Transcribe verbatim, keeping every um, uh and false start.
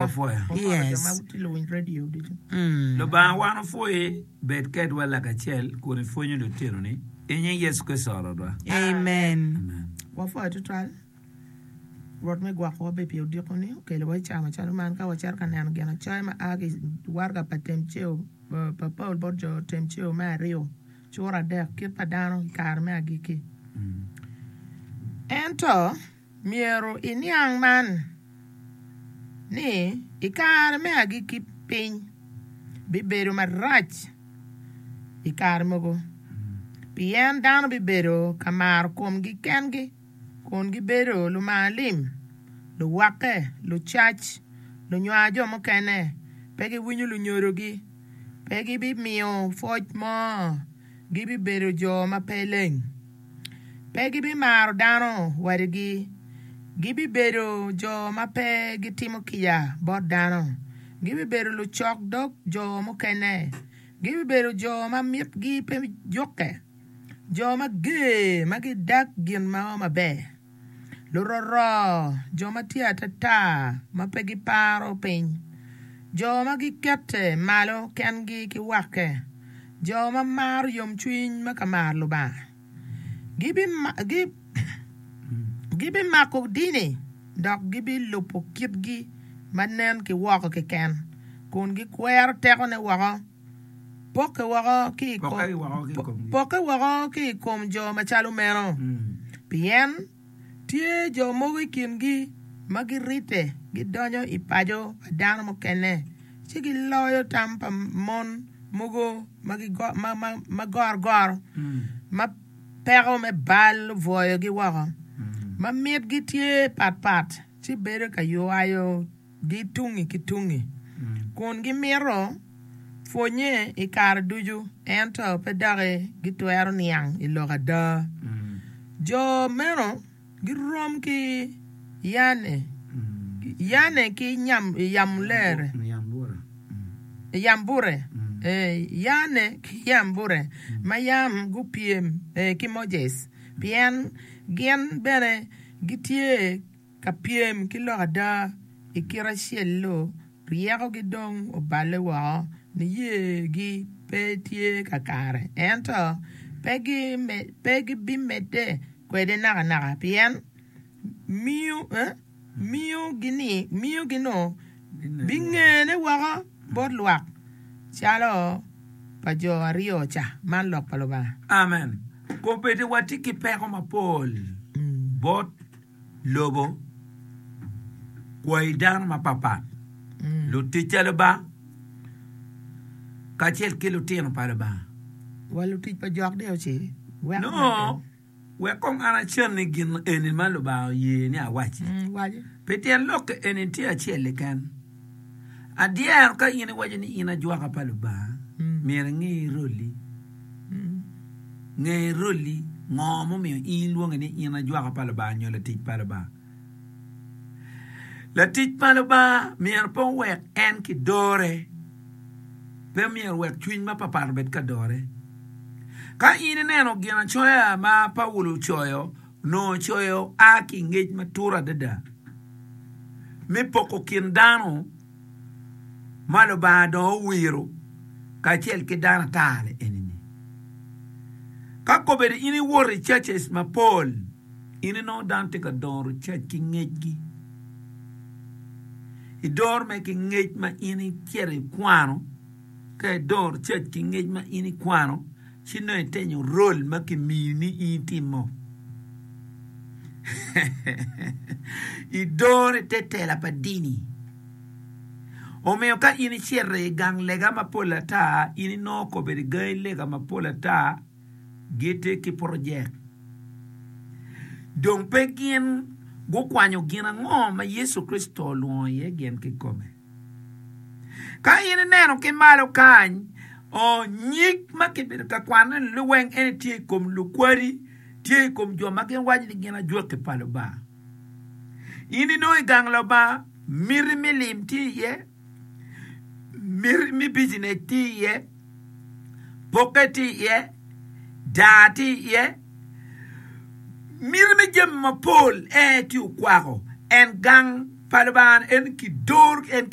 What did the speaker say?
Wapwoyo. Wamoro Yes. jo ma tye luwiny radio ducu. Mm. Lubanga wan opwoyi bed kedwa lakacel kun ipwonyo lutinoni i nying Yecu Kricito Rwotwa. Amen. Amen. Wapwoyo tutwal. Rwot me gwokowa be pi odiko-ni okelowa i cawa macalo man ka wacito ka neno ginacoya ma a ki i waraga pa Temceo pa Paul bot jo Temceo me aryo cura adek kit pa dano i kare me agikki. Ento myero iniang man ni i kare me agikki piny bibedo marac i kare mogo pien dano bibedo ka maro komgi kengi kun gibedo lumar lim, luwakke, lucac, lunywar jo mukene, pe giwinyo lunyodogi, pe gibimiyo pwoc mo, gibibedo jo ma pe leng, pe gibimaro dano wadigi, gibibedo jo ma pe gitimo kica bot dano, gibibedo lucok dog jo mukene, gibibedo jo ma mitgi pe jukke, jo mager ma gidag gin mo maber, luroro, jo ma tye atata ma pe giparo piny, jo ma gikette malo kengi ki wakke, jo ma maro yomcwiny ma ka maro Lubanga. Gibimako dini dok gibilubo kitgi ma nen ki woko keken, kun gikwero tekone woko. Pokke woko ki i kom, Pokke woko ki i komgi. pokke woko ki i kom jo macalo meno, pien tye jo mogo i kingi ma giridde gidonyo i paco pa dano mukene ci giloyo tam pa mon mogo ma gigo- ma- ma- ma gorogoro ma peko me bal obwoyogi woko, ma mitgi tye patpat ci bedo ka ywayogi tungi ki tungi, kun gimito pwonye i kare ducu ento pe doki gitwero niang i lok ada. Jo meno girom ki Yane, Yane ki nyam, Yamulere, Yambure, eh, Yane ki Yambure ma yam gupyem eh, ki Moses, pien gin bene gitye ka pyem ki lok ada i kit acel-lu, ryekogi dong oballe woko, niyegi pe tye kakare, ento pe gime- pe gibimedde kwede nakanaka, pien miyo eh, miyogi-ni miyogi-nu bingene woko bot lwak calo pa jo aryo ca. Man lok pa Lubanga. Amen. Kombeddi watye ki peko mapol bot lobo kwayi dano mapapat, lutic pa Lubanga kacel ki lutino pa Lubanga. Wa lutic pa jok deo ci weko No, wek kong an acenni gin eni ma Lubanga oye ni awaci. Mm, waci. Pi tyen lok eni tye acel keken. Adyero ka in iwaco ni in ajwaka pa Lubanga, Mm. myero inge roli. Mm. Nge roli ngo mumiyo in ilwonge ni in ajwaka pa Lubanga nyo latic pa Lubanga. Latic pa Lubanga myero pe owek en kidore. Pe myero owek cwiny mapapat obed ka dore. Ka in ineno ginacoya ma Paulo ocoyo, onongo ocoyo a ki i ngec matut adada me poko kin dano ma Lubanga dong owiro kacel ki dano ata-ni eni-ni. Ka kobedo in iwoto i churches mapol, in inongo dano tye ka doro church ki ngecgi. Idoro mere ki ngec ma in icito ikwano, ka idoro church ki ngec ma in ikwano, ci nongo itenyo role ma kimiyi ni in itimo. Idoro i te tela pa dini. Omiyo ka in icito i gang lega mapol ata, in inongo kobedo i gangi lega mapol ata gitye ki projek. Dong pe gin gukwanyo gin ango ma Yecu Kricito olwongo iye gin kikome. Ka in ineno ki malo kany, o, nyig ma kibedo ka kwanone liweng eni tye i kom lukwadi, tye i kom jo ma gin waco ni gin ajwaki pa Lubanga. In inongo i gang Lubanga, miti me lim tye iye, miti me bijinec tye iye, pokke tye iye, daa tye iye, miti me jami mapol en tye okwako en gang pa Lubanga en kidor en ki